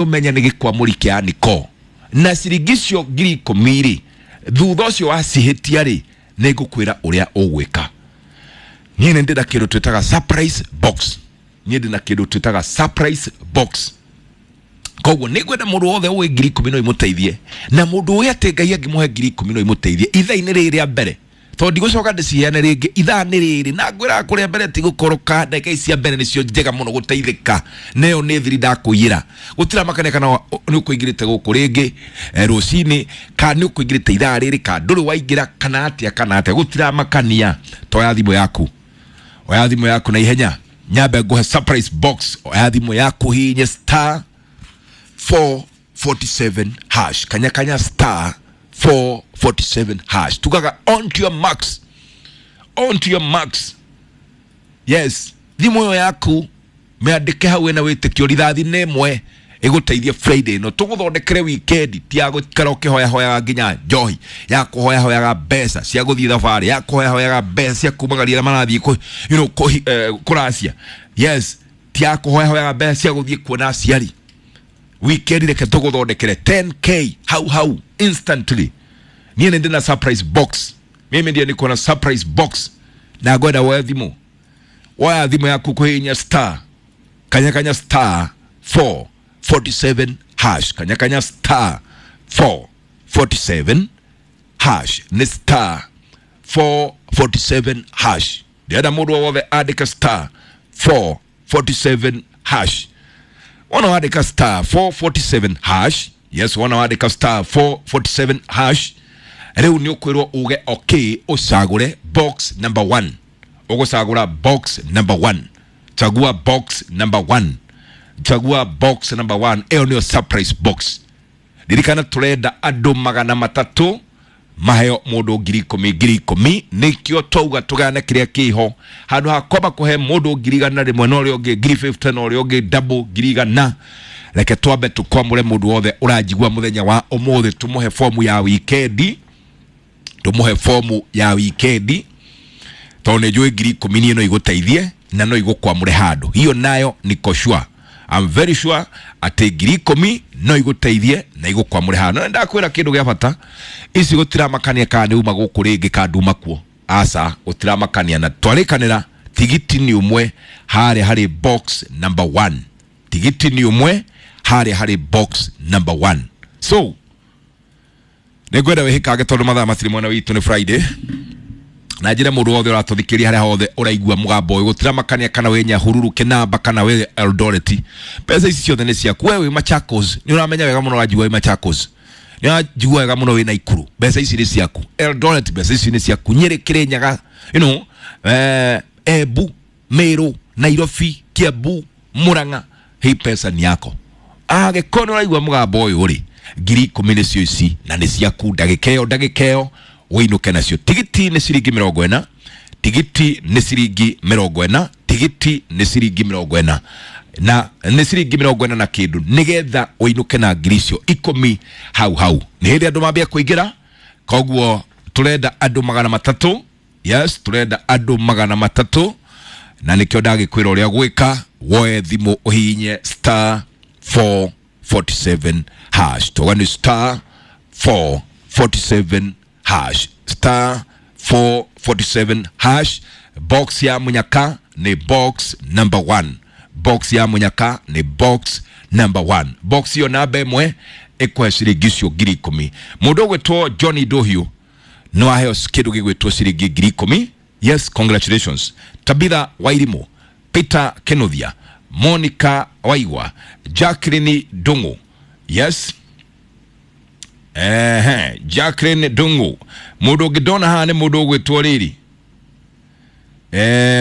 Ũmenye nĩ gĩkwamũri kĩa niko na ciringi icio 10,000 rĩ, thutha ũcio wacihĩtia rĩ, nĩ ngũkwĩra ũrĩa ũgwĩka. Niĩ nĩ ndĩna kĩndũ twĩtaga surprise box. Niĩ ndĩna kĩndũ twĩtaga surprise box. Koguo nĩ ngwenda mũndũ wothe ũĩ 10,000 no imũteithie, na mũndũ ũĩ atĩ Ngai angĩmũhe 10,000 no imũteithie ithaa-inĩ rĩrĩ rĩa mbere, tondũ ndigũcoka ndĩciheane rĩngĩ. Ithaa nĩ rĩrĩ na ngwĩraga kũrĩa mbere ti gũkoroka. Ndagĩka ici cia mbere nĩcio njega mũno gũteithĩka. Nayo nĩ thiri ndakũiyĩra, gũtiramakania kana nĩ ũkũingĩrĩte gũkũ rĩngĩ rũcinĩ, kana nĩ ũkũingĩrĩte ithaa rĩrĩ, kana ndũrĩ waingĩra, kana atĩa, kana atĩa, gũtiramakania. Toya thimũ yaku, oya thimũ yaku na ihenya, nyambe nguhe surprise box. Oya thimũ yaku, hihinye star 447 hash, kanya kanya star 447 hash. Tugaga on to your marks, on to your marks. Yes, thimũ ĩyo yaku mĩandĩke hau ĩna wĩtĩkio, rithathi nĩ ĩmwe ĩgũteithie Friday ĩno tũgũthondekere weekend, ti ya gũikara ũkĩhoyahoyaga nginya njohi, ya kũhoyahoyaga mbeca cia gũthiĩ thabarĩ, ya kũhoyahoyaga mbeca cia kumagaria arĩa marathiĩ kũracia. Yes, ti ya kũhoyahoyaga mbeca cia gũthiĩ kuona aciari. Weekend reke tũgũthondekere 10K hau hau instantly. Niĩ nĩ ndĩna surprise box. Mimi ndiye niko na surprise box na ngwenda woe thimũ. Woya thimũ yaku, kũhihinya star, kanya kanya star 447 hash, kanya kanya star 447 hash, nĩ star 447 hash. Ndĩrenda mũndũ o wothe andĩke star 447 hash. Wona wandĩka star 447 hash, yes, wona wandĩka star 447 hash, rĩu nĩ ũkwĩrwo uge okay, ũcagũre box number 1. Ũgũcagũra box number 1. Chagua box number 1, chagua box number 1. Ĩyo nĩyo surprise box. Ririkana tũrenda andũ 300 maheo mũndũ 10,000 10,000. Nĩkĩo twauga tũgayane kĩrĩa kĩho, handũ ha kwamba kũhe mũndũ 100,000 na ũrĩa ũngĩ 50,000 na ũrĩa ũngĩ double 100,000. Reke twambe tũkwamũre mũndũ wothe ũranjigua mũthenya wa ũmũthĩ, tũmũhe fomu ya wikendi, tũmũhe fomu ya wikendi, tondũ nĩ njũĩ 10,000 niĩ no igũteithie na no igũkwamũre handũ. Hiyo nayo niko sure, I'm very sure atĩ 10,000 no igũteithie na igũkwamũre handũ. Na ndakwĩra kĩndũ gĩa bata, ici gũtiramakania kana nĩ uma gũkũ rĩngĩ kana nduma kuo, aca, gũtiramakania. Na twarĩkanĩra tigiti nĩ ũmwe harĩa harĩ box number 1, tigiti nĩ ũmwe harĩa harĩ box number 1. So nĩngwenda wĩhĩkange tondũ mathaa matirĩ mwena witũ, nĩ Friday. Na njĩre mũndũ wothe ũratũthikĩria harĩa hothe ũraigua mũgambo ũyũ, gũtiramakania kana wĩ Nyahururu, Kĩnamba, kana wĩ Eldoret, mbeca ici ciothe nĩ ciaku. We wĩ Machakos, nĩ ũramenya wega mũno, ũranjigua wĩ Machakos, nĩ ũranjigua wega mũno wĩ Naikuru, mbeca ici nĩ ciaku. Eldoret, mbeca ici nĩ ciaku. Nyĩrĩ, Kĩrĩnyaga, Embu, Meru, Nairobi, Kiambu, Murang'a, hii pesa ni yako. Angĩkorwo nĩ ũraigua mũgambo ũyũ rĩ, 10,000 nĩcio ici na nĩ ciaku. Ndagĩka ĩyo, ndagĩka ĩyo wĩinũke nacio. Tigiti nĩ ciringi 40, tigiti nĩ ciringi 40, tigiti nĩ ciringi 40, na nĩ ciringi 40 na kĩndũ, nĩgetha ũinũke na 10,000 hau hau. Nĩ hĩndĩ andũ mambia kũingĩra, koguo tũrenda andũ 300. Yes, tũrenda andũ 300, na nĩkĩo ndagĩkwĩra ũrĩa gwĩka. Woe thimũ, ũhihinye star 447 hash. Tuga nĩ star 447 hash, star 447 hash. Box ya munyaka nĩ box number 1, box ya munyaka nĩ box number 1. Box iyo namba ĩmwe ĩkũhe ciringi icio 10,000. Mũndũ ũgwĩtwo Johnny Dohiu no aheo kĩndũ gĩgwĩtwo ciringi 10,000. Yes, congratulations. Tabitha Wairimu, Peter Kenothia, Monica Waigwa, Jacqueline Dungu. Yes. Ehe, Jacqueline Dungu. Mũndũ ũngĩ ndona haha nĩ mũndũ ũgwĩtwo rĩrĩ.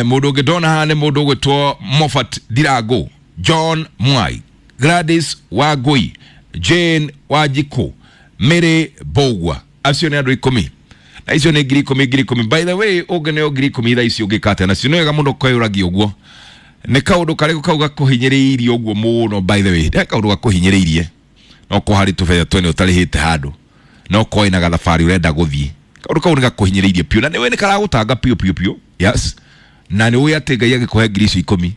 Mũndũ ũngĩ ndona haha nĩ mũndũ ũgwĩtwo Moffat Ndirango, John Mwai, Gladys Wangui, Jane Wanjikũ, Mary Mbũgua. Acio nĩ andũ 10, na icio nĩ 10,000 10,000. By the way, ũngĩneo 10,000 thaa ici ũngĩka atĩa nacio? Nĩ wega mũno kwĩyũragia ũguo, nĩ kaũndũ karĩkũ kau gakũhinyĩrĩirie ũguo mũno? By the way, nĩ kaũndũ gakũhinyĩrĩirie, no ko harĩ tũbetha twene ũtarĩhĩte handũ, no ko ĩna gathabarĩ ũrenda gũthiĩ, kaũndũ kau nĩ gakũhinyĩrĩirie biũ na nĩwe nĩ karagũtanga biũ biũ biũ. Yes, na nĩ ũĩ atĩ Ngai agĩkũhe 10,000.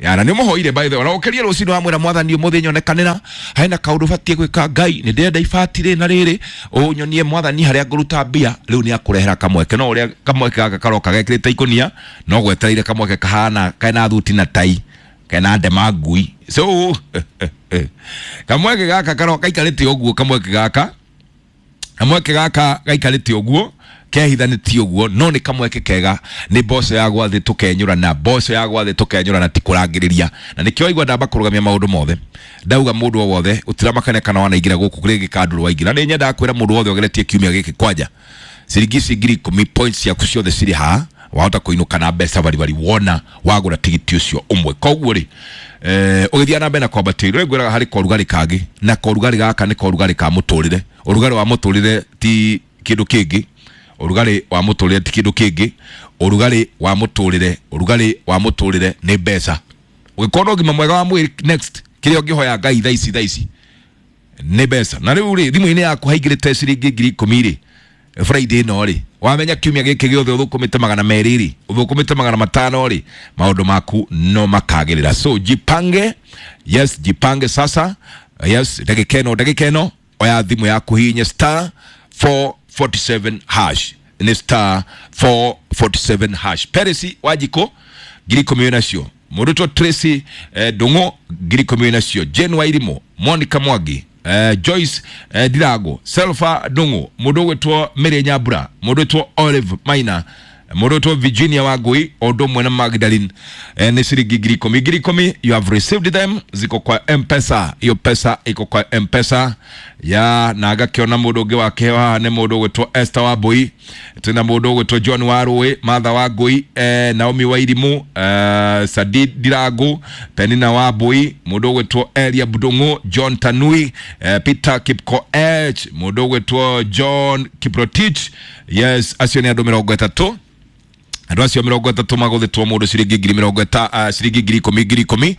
Ya na nĩ mũhoire by the way, na ũkĩrie rũcinĩ wamwĩra mwathani ũmũthĩ nyonekanĩra hena kaũndũ batiĩ gwĩka Ngai nĩ ndĩrenda ibati rĩ na rĩrĩ ũnyonie mwathani harĩa ngũruta mbia. Rĩu nĩ akũrehera kamweke, no ũrĩa kamweke gaka karoka gekĩrĩte ikũnia no gwetereire kamweke kahana kena thuti na tai kena ndema ngui. So kamweke gaka karoka gaikarĩte ũguo, kamweke gaka kamweke gaka gaikarĩte ũguo kehithanĩtie ũguo, no nĩ kamweke kega, nĩ mboco ya gwathĩ tũkenyũrana, mboco ya gwathĩ tũkenyũrana, ti kũrangĩrĩria. Na nĩkĩo waigua ndamba kũrũgamia maũndũ mothe, ndauga mũndũ o wothe ũtiramakania kana wanaingĩra gũkũ rĩngĩ kandũrũ waingĩra. Nĩ nyendaga kwĩra mũndũ wothe ũgeretie kiumia gĩkĩ kwanja ciringi ici 10,000 points ciaku ciothe cirĩ haha, wahota kũinũka na mbeca baribari wona wagũra tigiti ũcio ũmwe. Koguo rĩ ũgĩthiĩ na mbere na kwambatia irio, ngwĩraga harĩ korugarĩ kangĩ, na korugarĩ gaka nĩ korugarĩ ka mũtũrĩre. Ũrugarĩ wa mũtũrĩre ti kĩndũ kĩngĩ, ũrugarĩ wa mũtũrĩre ti kĩndũ kĩngĩ, ũrugarĩ wa mũtũrĩre, ũrugarĩ wa mũtũrĩre nĩ mbeca. Ũngĩkorwo na ũgima mwega wa mwĩrĩ, next kĩrĩa ũngĩhoya Ngai thaa ici thaa ici nĩ mbeca. Na rĩu rĩ thimũ-inĩ yaku haingĩrĩte ciringi 10,000 rĩ Friday ĩno rĩ, wamenya kiumia gĩkĩ gĩothe ũthũkũmĩte 200 rĩ, ũthũkũmĩte 500 rĩ, maũndũ maku no makagĩrĩra. So jipange, yes, jipange sasa, yes, ndagĩka ĩno, ndagĩka ĩno oya thimũ yaku hihinye star 447 hash, nĩ star 447 hash. Peresi Wanjikũ 10,000 wĩnacio, mũrutwo Tracy Ndung'u 10,000 wĩnacio, Jane Wairimu, Monica Mwangi, Joyce Ndirago, Selfa Ndung'u, mũndũ ũgwĩtwo Mary Nyambura, mũndũ ũgwĩtwo Olive Maina, mũndũ ũgwĩtwo Virginia Wangui, o ũndũ ũmwe na Magdalene, nĩ ciringi 10,000 10,000. You have received them, ziko kwa M-Pesa, hiyo pesa iko kwa M-Pesa ya. Na ngakĩona mũndũ ũngĩ wakĩheo haha nĩ mũndũ ũgwĩtwo Esther Wambui, twĩna mũndũ ũgwĩtwo John Warũĩ, Martha Wangui, Naomi Wairimu, Sadid Ndirago, Penina Wambui, mũndũ ũgwĩtwo Elia Ndung'u, John Tanui, Peter Kipkoech, mũndũ ũgwĩtwo John Kiprotich. Yes, acio nĩ andũ 30. Andũ acio 30 magũthĩtwo mũndũ ciringi ngiri mĩrongo ĩta ciringi 10,000 10,000,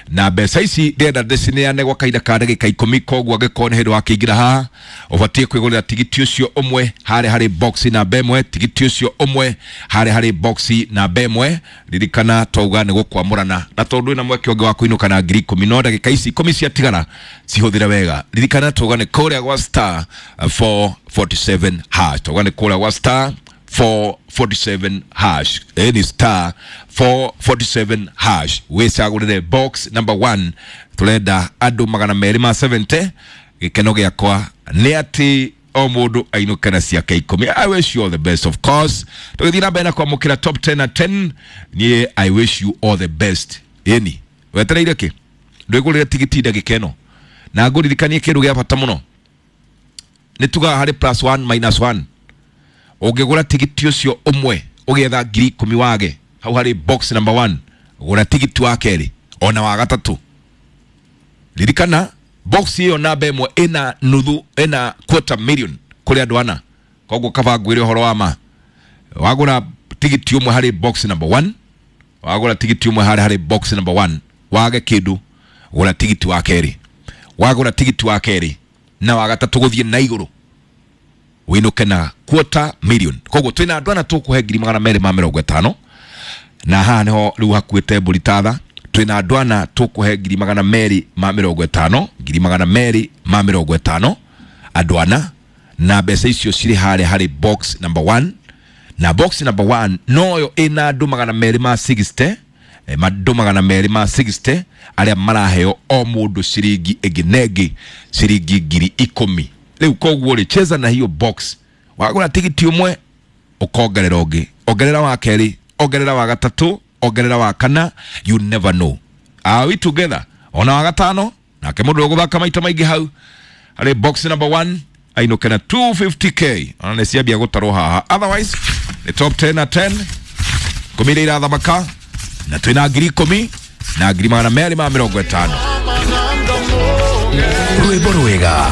na mbeca ici ndĩrenda ndĩcineane gwa kahinda ka ndagĩka 10. Koguo angĩkorwo nĩ hĩndĩ wakĩingĩra haha, ũbatiĩ kwĩgũrĩra tigiti ũcio ũmwe harĩa harĩ box namba 1, tigiti ũcio ũmwe harĩa harĩ box namba 1. Ririkana twauga nĩ gũkwamũrana, na tondũ wĩna mweke ũngĩ wa kũinũka na 10,000, no ndagĩka ici 10 ciatigara cihũthĩre wega. Ririkana twauga nĩ kũrĩa gwa star 447 hash, twauga nĩ kũrĩa gwa star 447 hash, ni star 447 hash, wĩcagũrĩre box number 1. Tũrenda andũ 270. Gĩkeno gĩakwa nĩ atĩ o mũndũ ainũke na ciake 10. I wish you all the best, of course. Tũgĩthiĩ na mbere na kwamũkĩra top 10 na 10, niĩ I wish you all the best. Ĩni wetereire kĩ? Ndwĩgũrĩre tigiti ndagĩka ĩno, na ngũririkanie kĩndũ gĩa bata mũno, nĩ tugaga harĩ plus 1 minus 1. Ũngĩgũra tigiti ũcio ũmwe ũgĩetha 10,000 wage hau harĩ box number 1, gũra tigiti wa kerĩ ona wa gatatũ. Ririkana box ĩyo namba 1 ĩna nuthu, ĩna quarter million kũrĩ andũ ana. Koguo kaba ngwĩre ũhoro wa ma, wagũra tigiti ũmwe harĩ box number 1, wagũra tigiti ũmwe harĩ box number 1 wage kĩndũ, gũra tigiti wa kerĩ, wagũra tigiti wa kerĩ na wa gatatũ gũthiĩ na igũrũ wĩinũke na quarter million. Koguo twĩna andũ ana tũkũhe 250,000, na haha nĩho rĩu hakuĩte mbũri tatha. Twĩna andũ ana tũkũhe 250,000, 250,000, andũ ana, na mbeca icio cirĩ harĩa harĩ box number 1, na box number 1 noyo ĩna andũ 260, andũ 260 arĩa maraheo o mũndũ ciringi ĩngĩ na ĩngĩ ciringi 10,000. Rĩu koguo rĩ, cheza na hiyo box, wagũra tigiti ũmwe ũkongerera ũngĩ, ongerera wa kerĩ, ongerera wa gatatũ, ongerera wa kana, you never know. Are we together? Ona wa gatano nake mũndũ ũgũthaka maita maingĩ hau harĩ box number 1 ainũke na 250k, ona nĩ ciambia gũtarwo haha. Otherwise nĩ top 10 na 10 10 iria irathamaka, na twĩna 10,000 na 250,000. Rwĩmbo rwega.